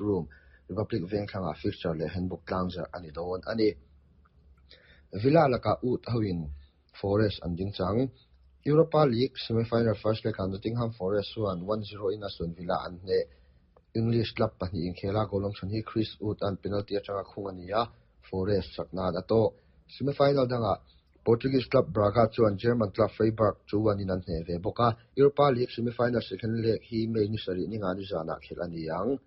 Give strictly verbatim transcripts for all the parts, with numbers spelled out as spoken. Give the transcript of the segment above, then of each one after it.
Room, Republic Vengthlangah fixture leh handbook tlangzarh a ni dawn a ni. Villa lakah Wood hoin Forest an ding chang. Europa League semi-final first leg ah Nottingham Forest chuan one zero in Aston Villa an hneh. English club pahnih inkhela goal awm chhun hi Chris Wood an penalty atanga khung a ni a, Forest chakna a tawh. Semi-final dangah Portuguese club Braga chuan German club Freiburg two one in an hneh ve bawk a. Europa League semi-final second leg hi May ni sarih ni nga ni zanah khelh a ni ang.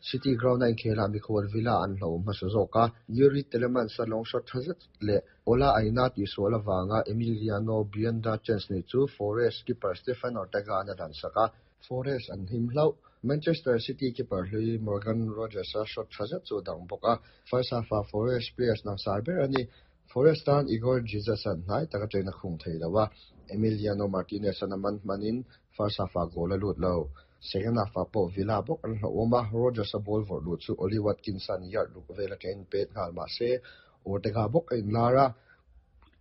City ground a inkhela mikhual Villa an hlo hmasa zawk a, Youri Tielemans a long shot tha zet leh Ola Aina tihsual avanga Emiliano Buendia chance nei chu Forest keeper Stefan Ortega an a dan sak a, Forest an him hlauh. Manchester City keeper hlui Morgan Rogers a shot tha zet chu dang bawk a, first half ah Forest players langsar ber a ni. Forest tan Igor Jesus an hnai taka train a khung thei lo a, Emiliano Martinez an a man hmanin first half ah goal a lut lo. Second half ah pawh Villa bawk an hlauhawm a, Rogers a ball vawrh lut chu Ollie Watkins an yard ruk vel atangin pet nghal mahse Ortega bawk a inlar a,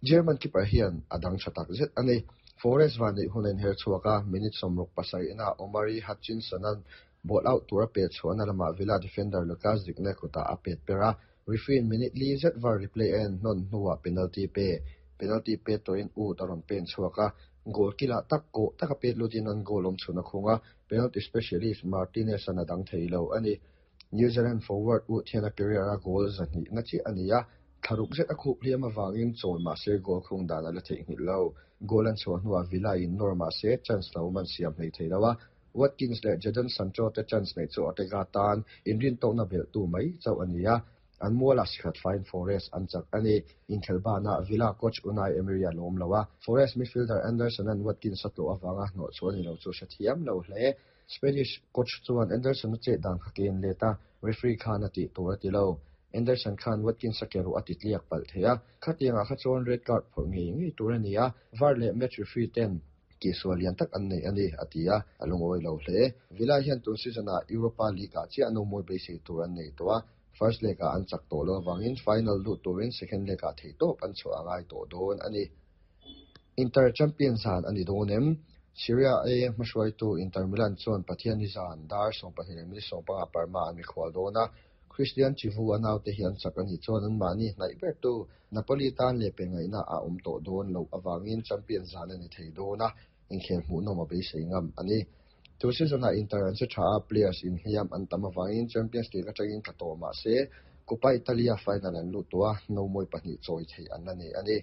German keeper hian a dang tha tak zet a ni. Forest van neih hun a inher chhuak a, minute sawmruk pasarih inah Omari Hutchinson an ball out tur a pet chhuahna lamah Villa defender Lucas Digne kutah a pet per a, referee in minute li zet var replay a en hnawn hnuah penalty pe. Penalty pet tawhin Wood a rawn pen chhuak a, goal kilah tak kawh taka pet lutin an goal awm chhun a khung a, penalty specialist Martinez an a dang thei lo a ni. New Zealand forward Wood hian a career a goal zahnih na chiah a ni a, thlaruk zet a khup hliam avangin chawl mahse goal khung dan a la theihnghilh lo. Goal an chhuah hnuah Villa in nawr mahse chance lo man siam hlei thei lo a, Watkins leh Jadon Sancho te chance nei chu Ortega tan inrin tawkna belh tu mai chauh a ni a, an mualah sikhat fine Forest an chak a ni. Inkhelh Villa coach Unai Emery a lawm lo a, Forest midfielder Anderson an Watkins a tlawh avanga hnawh chu a ni lo chu hrethiam lo hle. Spanish coach chuan Anderson a chet dan kha ken let a, referee khan a tih tur a ti lo. Anderson khan Watkins a ke ruh a ti tliak palh thei a, khatiangah kha chuan red card phawrh ngei ngei tur a ni a, VAR leh match referee ten tihsual lian tak an nei a ni a ti a, a lungawi lo hle. Villa hian tun season ah Europa League ah chiah no mawi beisei tur an nei tawh a, first leg ah an chak tawh lo awangin final lut turin second leg ah thei tawp an chhuah angai tawh dawn a ni. Inter Champions han a ni dawn em? Serie A hmahruaitu Inter Milan chuan Pathian ni zan dar sawm pahnih leh minute sawm panga Parma an mikhual dawn a, Cristian Chivu a naute hi an chak a ni chuan an mahni hnaih ber tu Napoli tan leh pe ngaihna a awm tawh dawn lo awangin champion zan a ni thei dawn a, inkhel hmuhnawm a beisei ngam a ni. Tu season ah Inter an che tha a, players inhliam an tam awangin Champions League atangin tla tawh mahse Coppa Italia final an lut tawh a, no mawi pahnih chawi thei an la nei a ni.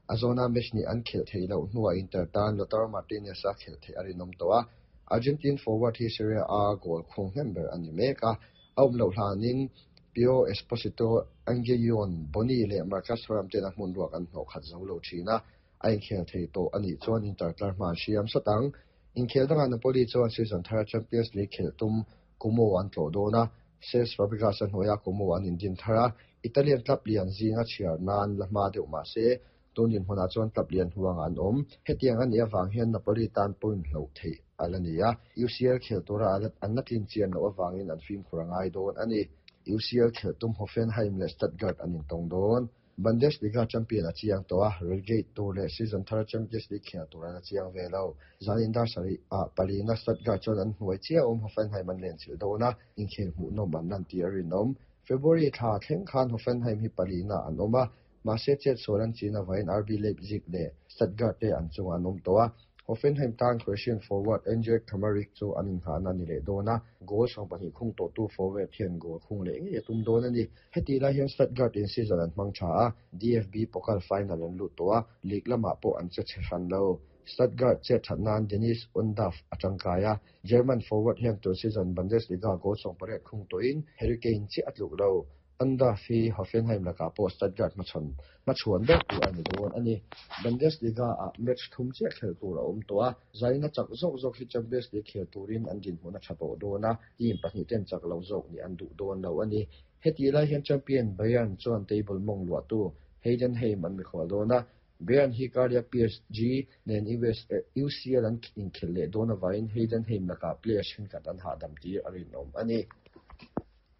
A zawna match ni an khelh thei loh hnuah Inter tan Lautaro Martinez a khelh theih a rinawm tawh a, Argentine forward hi Serie A goal khung hnem ber a ni mek a, a awm loh hlanin Pio Esposito, Angelino Boni leh Marcus Thuram ten a hmun ruak an hnawh khat zo lo thin a, a inkhel thei tawh a nih chuan Inter tlar hma an hriam sawt ang. Inkhel dangah Napoli chuan season thar Champions League khelh tum Como an tlawh dawn a, Cesc Fabregas a hnuaiah Como an indin thar a, Italian club lian zinga chhiar nan la hma deuh mahse tun dinhmunah chuan club lian huang an awm. Hetiang a nih avang hian Napoli tan point hloh theih a la ni a, U C L khel tura an la tlin chian loh avangin an fimkhur a ngai dawn a ni. U C L khelh tum Hoffenheim leh Stuttgart an intawng dawn. Bundesliga champion a chiang tawh a, relegate tur leh season thar Champions League khel tur an a chiang ve lo. Zanin dar sarih ah palina Stuttgart chuan an hnuai chiah awm Hoffenheim an len chilh dawn a, inkhel hmuhnawm an lan tih a rinawm. February thla thleng khan Hoffenheim hi palina an awm a, mahse chet sual an chin awain R B Leipzig leh Stuttgart te an chungah an awm tawh a. Hoffenheim tan Croatian forward Andrej Kramaric chu an inghahna ni leh dawn a, goal sawm pahnih khung tawh tu forward hian goal khung leh ngei a tum dawn a ni. Heti lai hian Stuttgart in season an hmang tha a, D F B Pokal final an lut tawh a, league lamah pawh an che chhe hran lo. Stuttgart chet that nan Dennis Undav a tangkai a, German forward hian tun season Bundesliga goal sawm pariat khung tawhin Harry Kane chiah a tluk lo. Undav hi Hoffenheim lakah pawh Stuttgart hmachhawn hmachhuan ber tur a ni dawn a ni. Bundesliga ah match thum chiah khel tur a awm tawh a, zaina chak zawk zawk hi Champions League khel turin an dinhmun a tha tawh dawn a, team pahnih ten chak lo zawk ni an duh dawn lo a ni. Heti lai hian champion Bayern chuan table mawng luahtu Heidenheim an mikhual dawn a, Bayern hi karlia P S G nen U S U C L an inkhel leh dawn awain Heidenheim lakah players thenkhat an hahdam tir a rinawm a ni.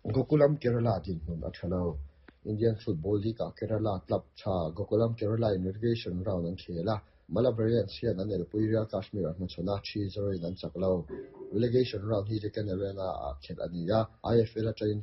Gokulam Kerala dinhmun a tha lo. Indian Football League ah Kerala club tha Gokulam Kerala in relegation round an khel a. Malabarians hian an elpui Real Kashmir an hmachhawn a three zero in an chak lo. Relegation round hi Deccan Arena ah khelh a ni a, IFL atangin